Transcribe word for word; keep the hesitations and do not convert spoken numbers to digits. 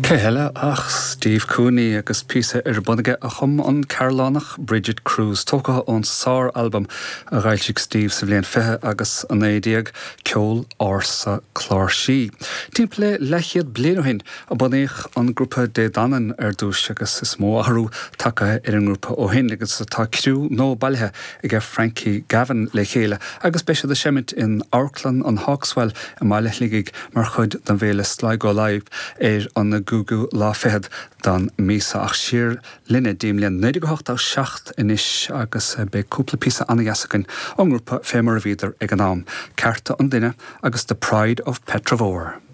Cé heile ach Steve Cooney agus píosa ar bun aige a chum an Cearlánach Bridget Cruise tógtha ón sár-albam a d'fhoilsigh Steve sa bhliain fiche agus a naoi déag ceol ársa cláirsí. Timpeall le leathchéad bliain ó shin a bunaíodh an grúpa Dé Danann ar dtús agus is mó athrú tagtha ar an ngrúpa ó shin agus tá criú nua bailithe ag Frankie Gavin le chéile agus beidh siad ag seimint in Amharclann an Hawkswell i mBaile Shligigh mar chuid den bhféile Sligo Live ar an gcúigiú lá fichead den mhí seo ach siar linne go dtí an bhliain naoi déag ochtó seacht anois agus beidh cúpla píosa an-deas againn ón ngrúpa fé mar a bhíodar ag an am, Cearta an Duine agus The Pride of Petravore.